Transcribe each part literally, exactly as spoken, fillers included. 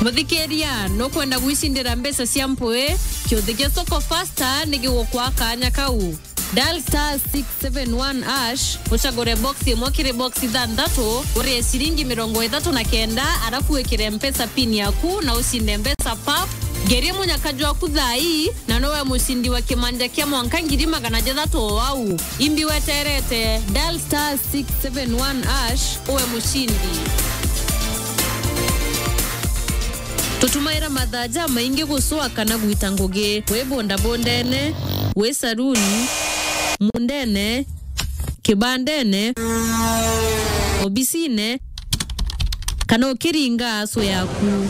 Muthikiria, nukwenda gwicindira mbeca cia mpui? Kiuthi gia Soko Fasta ni gigukwa kanya kau. Dial star six seven one hash, ucagure box imwe kiri box ithanthatu, urie ciringi mirongo ithatu na kenda, arafu wikire Mpesa pin yaku na ucinde mbeca pap. Ngeria munyaka jwaku thaa ii, na nowe mucindi wa kimanja kia mwanka ngiri magana jathatu o au. Imbi weterete, dial star six seven one hash, uwe mucindi. Tutumaira mathaa jamaingi gucwa kana gwita ngugi, wi bondabondene, wi saruni, mundene, kibandene, obisine, kana ukiringa aso yaku.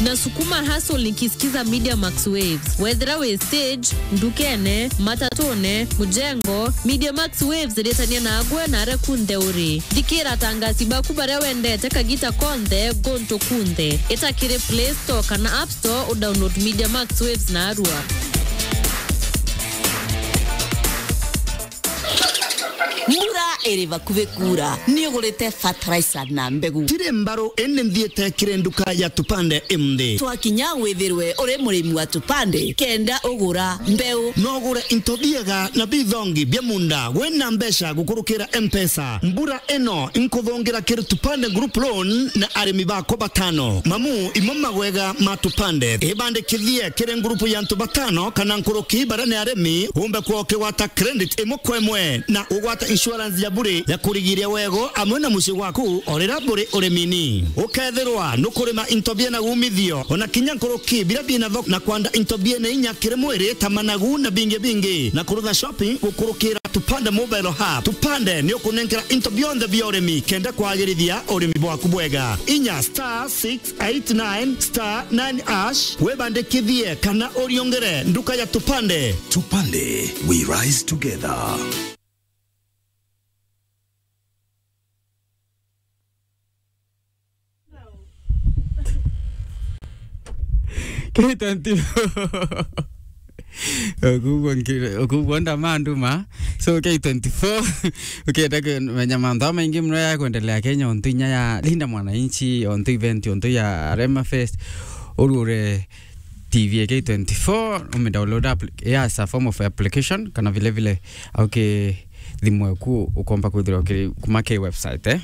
Na sukuma hustle nikisikiza Media Max Waves. Wethira wi stage, ndukene, matatune, mujengo, Media Max Waves ritania nagwe na aria kunthe uri. Thikira atangasi baku baria wendete kagita konthe, guntu kunthe. Ita kiri Play Store kana App Store, udownload Media Max Waves narua. Mbura iri bakuvi kuura, ni ugurite fertilizer na mbegu? Tiri mbaru, indi nthiite kiri nduka ya Tupande imthi. Twakinya withirwe uri murimi wa Tupande, kenda ugura mbeu. No ugure into biega na bithongi bia munda wina mbeca gukurukira Mpesa. Mbura ino inkuthungira kiri Tupande Group Loan na arimi bakwa batano. Mamu, imwe magwega ma Tupande. Ibandikithie kiri ngurupu ya antu batano kana nkuruki baria ni arimi, umbe kwa ukigwata credit imwe kwa imwe na ugwata insurance ya bure ya kurigiria wego amwe na mucii waku o riria buri urimini. Ukethirwa nukurima into biena umithio, ona kinya nkuruki biria biena thoko, na kwanda into biena inya kiri mwiri ta managu na bingi bingi, na kurutha shopping gukurukira Tupande Mobile Hub. Tupande ni ukunenkera into bionthe bia urimi kenda kwagirithia urimi bwaku bwega. Inya star six eight nine star nine hash, wibandikithie kana uriongere nduka ya Tupande. Tupande, we rise together. K twenty-four. Okugwo nki-, okugwo ndamanduma. So, K twenty-four, ukienda kumenya mantu jamaingi muno ya kwendelea Kenya, ontu inya ya Linda Mwananchi, ontu event, ontu ya Rema Fest, urure T V ya K twenty-four, ume download appli-, yeah, as a form of application, kana vile vile, okay, thimu yaku ukomba kwithirwa ukiri kuma ki website, eh?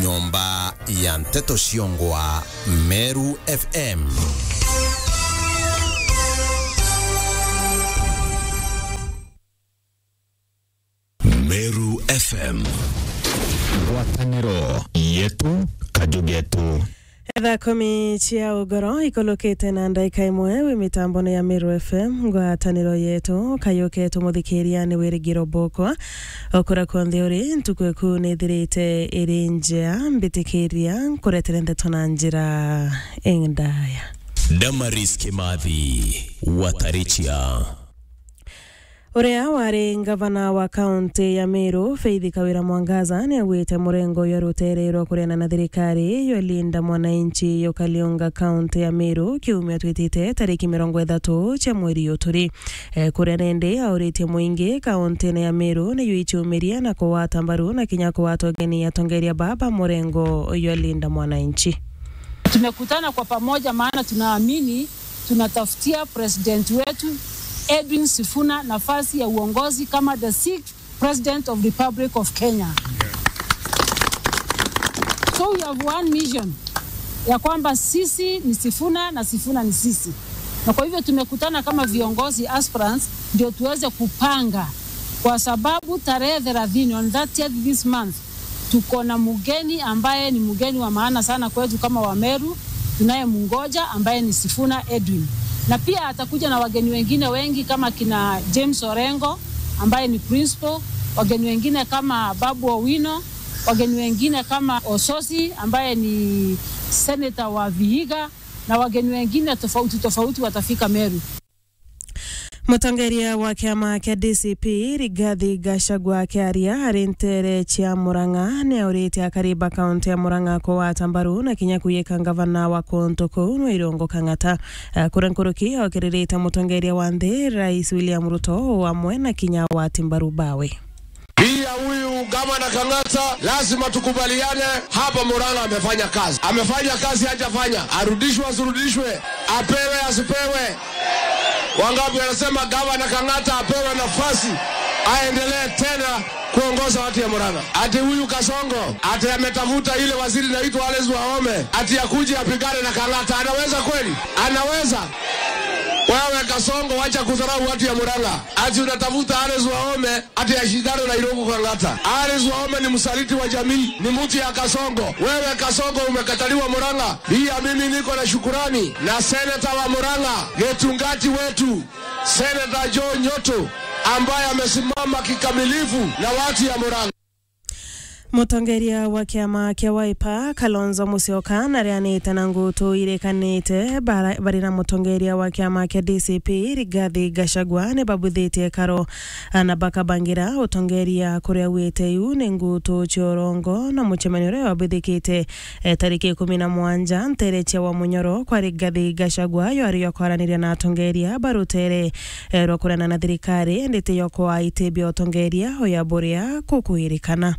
Nyomba ya nteto ciongwa Meru F M. Meru F M. Ngwataniro yetu, kaju getu. Thaa kumi cia ugoro ikulukite na ndaika imwe wi mitambone ya Meru F M, ngwataniro yetu, kayu ketu muthikiria ni Wirigiro Bokwa. Okura kwonthe uri, ntuku eku nithirite iri njea, mbitikiria nkuretere ndeto na njira indaya. Damaris Kimathi, Watarichia. Uria wari ngavana wa kaunti ya Meru, Faith Kawira Mwangaza, niaugite murengo uyu rutere rwa kuriana na thirikari yo Linda Mwananchi yukariunga kaunti ya Meru kiumia twitite tariki mirongo ithatu cia mweri uyu turi. Eh, kuria nindi auritie muingi kauntine ya Meru niyo ichiumiria na kugwata mbaru na kinya kugwata ugeni atongeria baba murengo uyu Linda Mwananchi. Tumekutana kwa pamoja maana tunaamini tunatafutia president wetu Edwin Sifuna nafasi ya uongozi kama the sixth president of Republic of Kenya. So we have one mission ya kwamba sisi ni Sifuna na Sifuna ni sisi, na kwa hivyo tumekutana kama viongozi aspirants ndio tuweze kupanga, kwa sababu tarehe thelathini, on thirtieth this month, tuko na mgeni ambaye ni mgeni wa maana sana kwetu kama Wameru, tunayemngoja ambaye ni Sifuna Edwin. Na pia atakuja na wageni wengine wengi kama kina James Orengo ambaye ni principal, wageni wengine kama Babu Owino, wageni wengine kama Ososi ambaye ni senator wa Vihiga na wageni wengine tofauti tofauti watafika Meru. Mutongeria wa kiama kia D C P, Rigathi Gachagua, akiaria ari ntere cia Murang'a, niauritie akari ba kaunti ya Murang'a kugwata mbaru na kinya kwiyika ngavana wa kuntu kuu nwe Irungu Kang'ata. Eh, kuria nkuruki okiririte mutongeria wa nthi, Rais William Ruto, o amwe na kinya agwati mbaru bawe. Hii ya huyu gavana Kang'ata, lazima tukubaliane hapa, Murang'a amefanya kazi. Amefanya kazi, hajafanya. Arudishwe, asirudishwe, apewe, asipewe. Wangapi wanasema gavana Kang'ata apewe nafasi, aendelee tena kuongoza watu ya Murang'a? Ati huyu Kasongo, ati ametafuta ile waziri inaitwa Alice Wahome, ati akuje apigane na Kang'ata. Anaweza kweli? Anaweza? Wewe Kasongo, wacha kudharau watu ya Murang'a. Ati unatafuta Alice Wahome, ati ashindane na Irungu Kang'ata. Alice Wahome ni msaliti wa jamii, ni mtu ya Kasongo. Wewe Kasongo, umekataliwa Murang'a. Pia mimi niko na shukurani na seneta wa Murang'a, Getungati wetu, Seneta Joe Nyoto, ambaye amesimama kikamilifu na watu ya Murang'a. Mutongeria wa kiama kia Wiper, Kalonzo Musyoka, nareanite na ngutu irikanite bara-, bari na mutongeria wa kiama kia D C P, Rigathi Gachagua, ni babuthitie karo na bakabangira utongeria kuria wite iu ni ngutu cia urongo na mucemanio uria wabithikite, eh, tariki ikumi na mwanja ntere cia wa Munyoro kwa Rigathi Gachagua, yo ari yo kwaraniria na atongeria ba rutere, eh, rwa kurana na thirikari, indi ti yo kwa iti bia utongeria uya buria kukwirikana.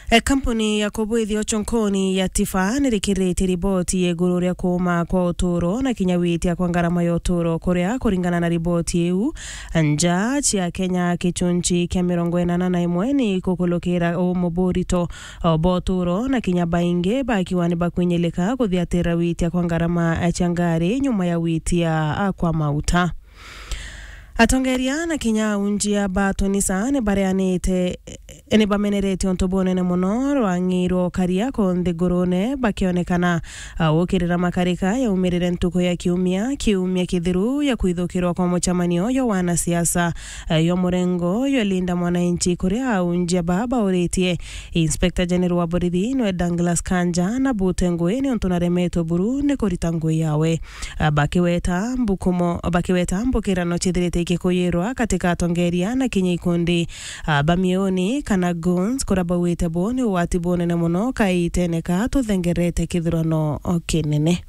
E, kampuni ya kubwithia uchonkoni ya Tifa nirikiriritie riboti ya iguru ria kuuma kwa uturo na kinya witia kwa ngarama ya uturo, kuria kuringana na riboti iu, nja cia Kenya kichunchi kia mirongo inana na imwe ni kukulukira umuburito bwa uturo na kinya baingi bakiwa ni bakwinyilika kuthiatira witia kwa ngarama cia ngari nyuma ya witia kwa mauta. Atongeria na kinya aunjia ba tunisa ni bareanite, ni bamenerete untu bunene muno rwang'i rwa ukaria ku nthigurune, bakionekana, a, gukirira makarika yaumirire ntuku ya kiumia, kiumia kithiru ya kwithukirwa kwa mucemanio yo wanasiasa, a, yo murengo yo Linda Mwananchi, kuria aunjia ba bauritie Inspector General wa borithi nwe Douglas Kanja na bute ngui ni untu naremetwe buru ni kurita ngui yawe. A, bakiweta mbukumo, bakiweta mbukirano cithirite ikikuyirwa katika atongeria na kinya ikundi, a, ba miuni kana goons, kuria bauite bo ni ugwati bunene muno kaitene ka tuthengerete kithurano kinene.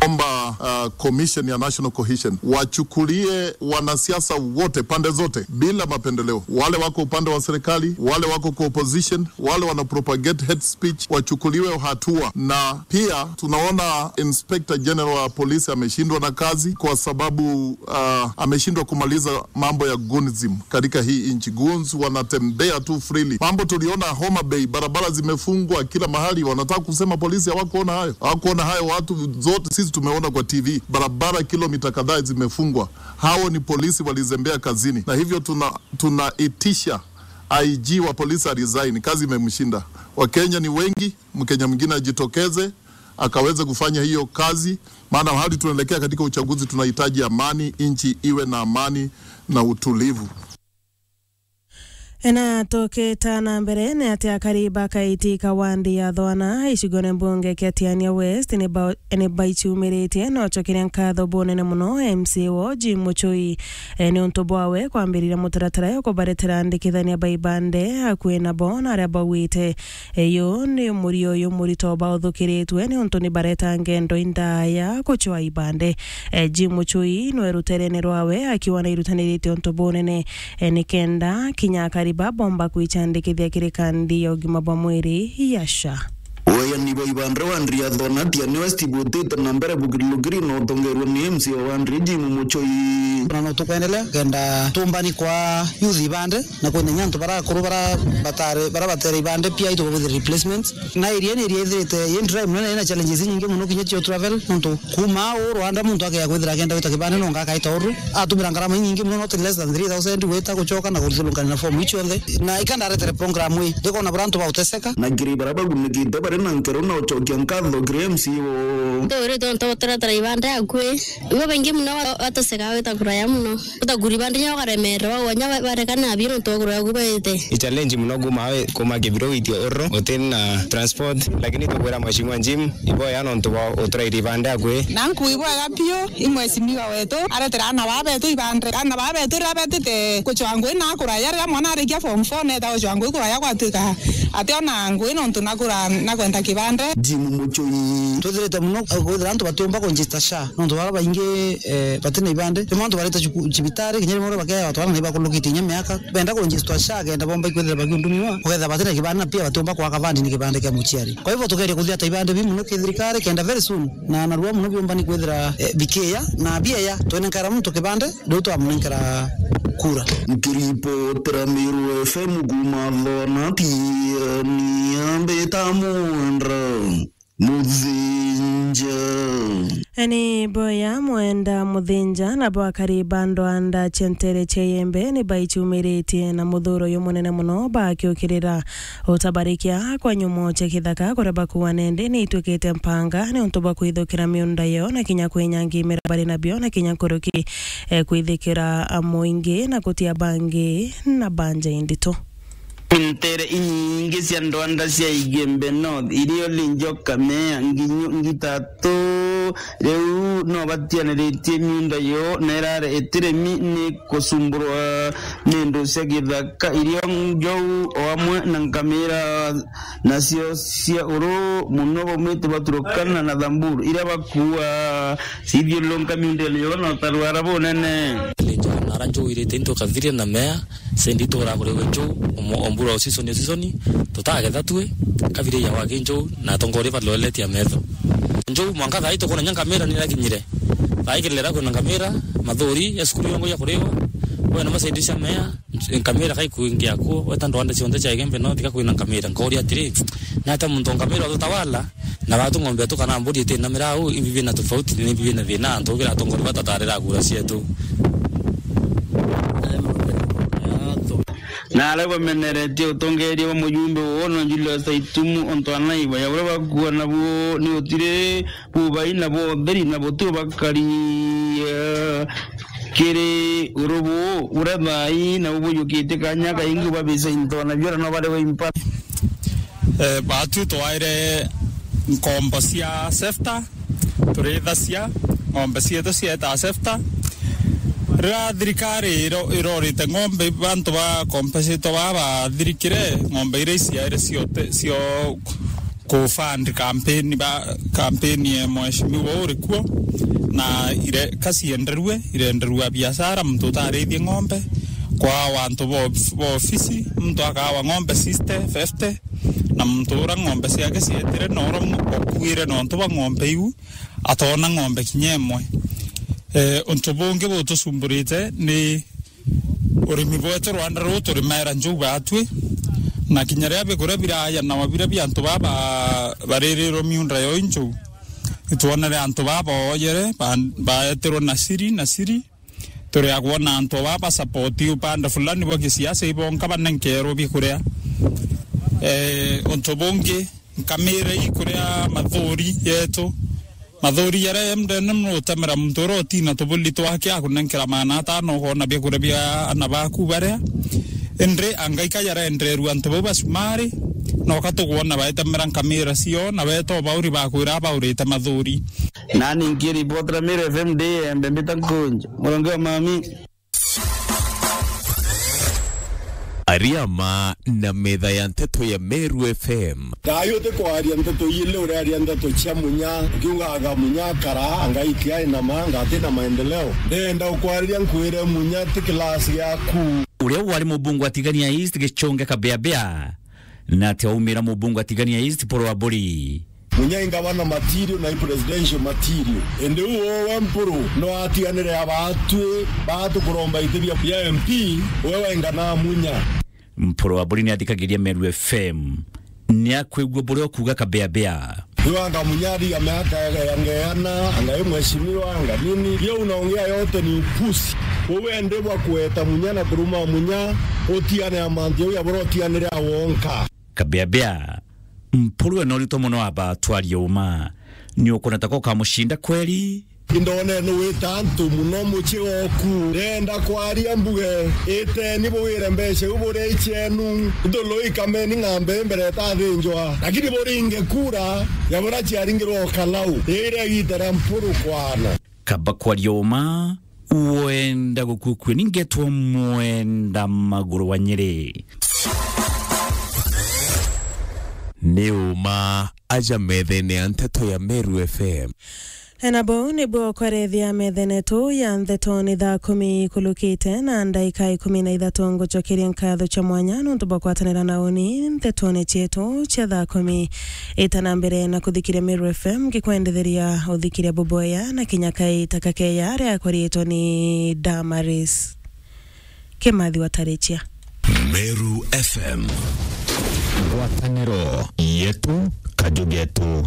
Omba, uh, Commission ya National Cohesion wachukulie wanasiasa wote, pande zote, bila mapendeleo, wale wako upande wa serikali, wale wako kwa opposition, wale wana propagate hate speech wachukuliwe hatua. Na pia tunaona Inspector General wa polisi ameshindwa na kazi kwa sababu, uh, ameshindwa kumaliza mambo ya goonism katika hii nchi. Goons wanatembea tu freely. Mambo tuliona Homa Bay, barabara zimefungwa kila mahali. Wanataka kusema polisi hawakuona hayo? Hawakuona hayo, watu zote sisi tumeona kwa T V. Barabara kilomita kadhaa zimefungwa. Hao ni polisi walizembea kazini. Na hivyo tuna, tunaitisha I G wa polisi a resign, kazi imemshinda. Wakenya ni wengi, Mkenya mwingine ajitokeze, akaweze kufanya hiyo kazi, maana hali tunaelekea katika uchaguzi, tunahitaji amani, nchi iwe na amani na utulivu. Ena tukita na mbere ni ati akari ba Kaiti ka wandi ya Thwana, icigone mbunge kia Tiania West, ni ba-, ni baiciumiritie na ucokeria nkatho bunene muno M C A wo Jim Muchui, e, ni untu bwawe kwambiriria mutaratara ya kubaretera andikithania ba ibande akui nabo na aria bauite. E, uyu ni murio uyu murito bauthukiritwe ni untu ni bareta ngendo indaya kucwa ibande. E, Jim Muchui nwe ruterene rwawe akiwa na irutanirite untu bunene, e, ni kenda kinya akari ba bomba kwicandikithia kiri kandi ya ugima bwa mwiri ya SHA. Weeyani bwa ibande wa Ndria Thona Tiania West butite na mbere bukiri lukiri na utongerwa ni M C A wa Ndria Jim Muchui. Na no tukwendelea kenda tumbani kwa youth ibande na kwina kinya antu barakuru bara batare, bara batere ibande pia itubabwithire replacement. Na area ni area ithirite i dry muno na ina challenges inyingi muno kinya cio travel, nontu kuuma uu Rwanda muntu akea kwithira akenda gwita kibande nonga akaita uru. Atumira ngarama inyingi muno, not less than three thousand, gwita, gucoka na kuthulungania na form iu cionthe. Na ikandaretere program ii, ndikona bura antu bauteseka. Na kiri bara bagunikite bari na nkero na ucokia nkatho kiri M C A wo. Tuwirite untu uturetera ibande akui. Ibo baingi muno ba-, bateseka gwita kuraya muno. Utakuri bandi nya ukaremererwa, wanya ba-, barekana nabio nontu wa kuraya ku baite. I challenge muno kuma we, kuma Kibiro witie Oro, uti na transport, lakini tukwira Mheshimiwa Jim, iboya nontu bwa uturairi bandi akwi. Na nkuigwa ga biu, i mheshimiwa wetu, aretera ana ba betu ibande. Ana ba betu riria betite kucwa ngui na kuraya, riria mwana arikia form four neta gucwa ngui kuraya gwatuika Ati ona ngui nontu nagura, nagwenda kibande. Jim Muchui. Twithirite mono, eh, kwithira antu batiumba kunjista SHA. Nontu bara baingi, eh, bati na ibande. Rimwe antu barite cuku-, cibitari, kinya rimwe bakeya batwara na ibakulukite inya miaka. Benda kunjistwa SHA, kenda bomba ikwithira bakiundumiwa. Ukethira bati na kibande na pia batiumba kwaka bandi ni kibande kia muciari. Kwa hivyo tugeria kuthiata ibande bi mono ki thirikari, kenda very soon. Na narua mono biumba ni kwithira, eh, bikiya, na bieya, twenenkaira muntu kibande, riu twamunenkera kura. Nkiripotera Meru F M kuuma Thonati, ni ambita Mwenda Muthinja. Ni boya Mwenda Muthinja, nabo akari ba ndwanda cia ntere cia Iembe ni baicumiritie na muthuro uyu munene mono bakiukirira utabarikia kwa nyumo cia kithaka kuria bakuuga nende ni itwikite mpanga ni untu bwa kwithukira miunda yo na kinya kwinyangia imera bari nabio na kinya nkuruki, eh, kwithikira, ah, muingi na gutia bangi na banja indito. Ntere inyingi cia ndwanda cia Igembe North irio ni njoka mea nginyu ngitatu riu no batianiritie miunda yo na irare itiremi ni kusumburwa ni ndu cia githaka irio njou o amwe na nkamira nacio cia uru mono baumite Baturukana na Thamburu iria bakua cithiururunka miundene yo na utarwara bunene. Linja nara njou irite into kathiria na mea sendi tura kuri we njou omo-, ombura o season o season tutagetha tue kabiri ya waki njou na atongoria balweletia metho. Njou mwanka thai tukona nya nkamira ni rakinyire. Thai kirera kwina nkamira, mathuri ya cukuru yongo ya kuriwa. Wena masaidi cia mea, nkamira kai kuingia kuo, weta ndwanda cionthe cia Igembe North ka kwina nkamira. Nkauria atiri, nata muntu nkamira ututawala, na watu ng'ombe tu kana mburi iti na mirau, imbi bina tofauti, ni imbi bina thina, antu kira atongoria batatarira kura cietu. Na aria bameneretie utongeria bwa mujumbe uno Julius Aitumu, ontu anaiba ya uria bakuona bu ni utiri bubai na bwa utheri na buti ubakari, eh, kiri uru bu uria thai na bubuyukitie kanya kaingi babica into na biora no bari baimpa. Eh, batu twaire nkombo cia sefta, turithacia ng'ombe cietu cieta sefta. Riria thirikari iro-, irorite ng'ombe, bantu ba compensate baa bathirikire, ng'ombe iria iciaire ciote, cio ku fund campaign ba, campaign ya mheshimiwa uri kuo, na ire, kacienderue, irenderua biashara, muntu utarithie ng'ombe, kwa wantu bo, bo ofisi, muntu akawa ng'ombe sixty, fifty, na muntu ura ng'ombe ciake cietire na ura mu-, okuire nontu bwa ng'ombe iu, atona ng'ombe kinya imwe. Eh, untu bungi butucumburite ni urimi bwetu rwanda ruu turimaira njou batwi, na kinya riria bikuria biraya na mabira bia antu baba baririrwe miunda yo injou, itwonere antu baba booyere, ba-, baeterwe na siri na siri, turiagwa na antu baba support upande fulani bwa gisiasa ibonka banenkerwe bikuria. Eh, untu bungi, nkamira ii kuria mathuri yetu. Mathuri jaria jemdene nutemera muntu uria utina tubuli twake akunenkera maana atano, ukona biakuria bia ana baku baria. Indi angaika jarenderua antu bau bacumari, noka tukwona baetemera nkamira cio, na beta ubauri bakwira abaurite mathuri. Nani nkiripotera Meru F M ndi Embe mbita Nkunja, muronge wa mami. Ariama na metha ya nteto ya Meru F M. Thayũ ti kwaria nteto ili, uraria nteto cia munya, ukiugaga munya akara, anga ikia inama, anga ati na maendeleo. Ndenda ukwariria nkwire munya ti class yaku. Uria wari mubunge wa Tigania East Gichunge Kabeabea, na ati aumira mubunge wa Tigania East Paul Waburi. Munya i ngavana material na i presidential material. Indi uu we Mpuru no atiganire abatwi baa tukuromba iti bia, bia M P, we wenga na munya. Mpuru Waburi ni athikagiria Meru F M. Ni akwigua buria ukuuga Kabeabea. Iwanga munya ariga miaka ya ngeana, anga i mheshimiwa, anga nini. Hiyo unaongea yote ni upuzi. Wewe ndi bwa kueta munya na kuruma munya, utiane ya mantu jau ya buria utianire awonka. Kabeabea, Mpuru ena urito mono aba twarie uma. Ni ukona ta ko ukamucinda kweri? Indone ni wita antu muno mucii oku. Ndenda kwaria mbuge, iteni buwire mbeca iu buria icienu. Ithulu ikameni ng'ambe mbere itathinjwa. Lakini buringe kura ya buria ciaringirwe o Kalau. Ii iria igita ria Mpuru kwana. Kaba kwaria uma, wenda gukukua ni ngetwa Mwenda Maguru wa Nyeri. Ni uma aja methene ya nteto ya Meru F M. Ena bou nibwo kwarethia methene tu ya nteto ni thaa kumi ikulukite na ndaika ikumi na ithatu. Ngucokeria nkatho cia mwanya nontu bwa kwatanira na uni ntetone cietu cia thaa kumi. Ita na mbere na kuthikiria Meru F M, ngikwendetheria uthikiria buboya na kinya kaita kakeya aria akwaritwe ni Damaris Kimathi wa Tarichia. Meru F M. Ngwataniro yetu, kaju getu.